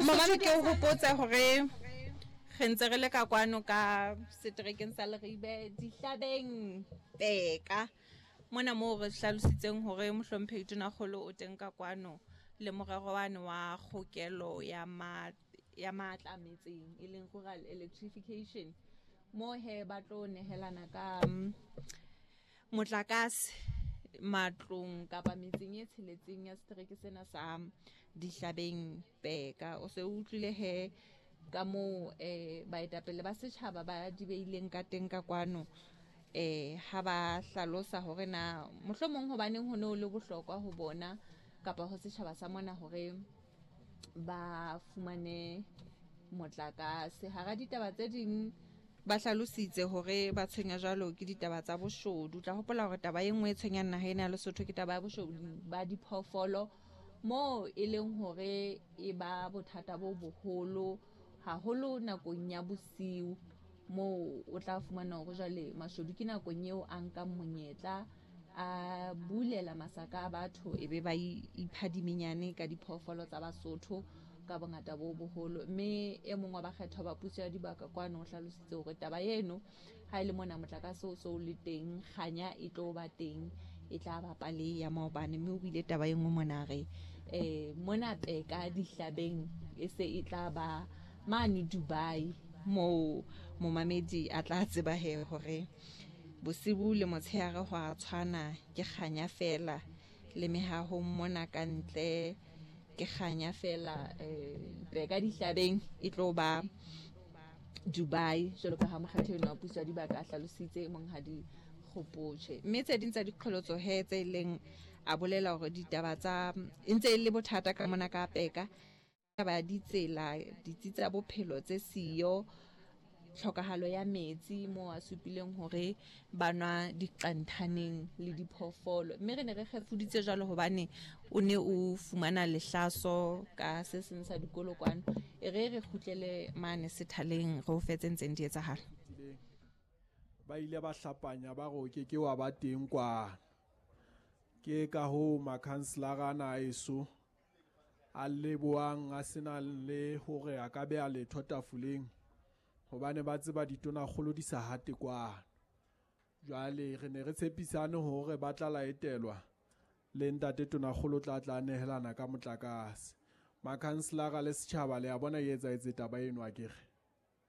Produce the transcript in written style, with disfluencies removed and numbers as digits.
Momame ke o hopotse hore re ntse re le ka kwano ka seterekeng sa Leribe dihlabeng Peka mona moo re hlalositseng hore mohlomphehi Tonakgolo o teng ka kwano le morero wane wa kgokelo ya ma ya matla metseng e leng rural electrification moo he ba tlo nehelana ka motlakase matlong kapa metseng e tsheletseng ya setereke sena sa Dihlabeng Peka. O se o utlwile he ka moo um baetapele ba setjhaba ba di beileng ka teng ka kwano um ha ba hlalosa hore na mohlomong hobaneng ho ne ho le bohlokwa ho bona kapa ho setjhaba sa mona hore ba fumane motlakase. Hara ditaba tse ding ba hlalositse hore ba tshwenya jwalo ke ditaba tsa boshodu. Tla hopola hore taba e nngwe e tshwenyang naha ena ya Lesotho ke taba ya boshodu ba diphoofolo moo e leng hore e ba bothata bo boholo haholo nakong ya bosiu moo o tla fumana hore jwale mashodu ke nakong eo a nkang monyetla a bulela masaka a batho e be ba ipha dimenyane ka diphoofolo tsa Basotho ka bongata bo boholo. Mme e mong wa bakgethwa ba puso ya dibaka kwano o hlalositse hore taba eno ha e le mona motlakase o so o le teng, kganya e tlo ba teng, e tla bapa le ya maobane. Mme o buile taba e nngwe mona re um mona Peka dihlabeng e se e tla ba mane Dubai moo momamedi a tla tseba he hore Bosibu le motshehare ho a tshwana, ke kganya feela. Le mehahong mona ka ntle ke kganya feela. Peka dihlabeng e tlo ba Dubai, jwalo ka ha mokgatho enwa wa puso ya dibaka a hlalositse Monghadi Kgopotjhe. Mme tse ding tsa diqholotso he tse leng a bolela hore ditaba tsa e ntse e le bothata ka mona ka Peka, Taba ya ditsela, ditsi tsa bophelo tse siyo, tlhokahalo ya metsi moo a supileng hore ba nwa diqanthaneng le diphoofolo. Mme re ne re kgefuditse jwalo hobane o ne o fumana lehlaso ka se seng sa dikolo kwano. E re re kgutlele mane sethaleng re o fe tse ntseng di etsahala. Ba ile ba hlapanya ba re o ke ke wa ba teng kwano. Ke ka hoo makhanselara ana a eso a leboang a sena le hore a ka beha letho tafoleng hobane ba tseba ditonakgolo di sa hate kwano. Jwale re ne re tshepisane hore ba tla laetelwa le ntate tonakgolo tla tla nehelana ka motlakase. Makhanselara le setjhaba le a bona e etsahetse taba eno akere.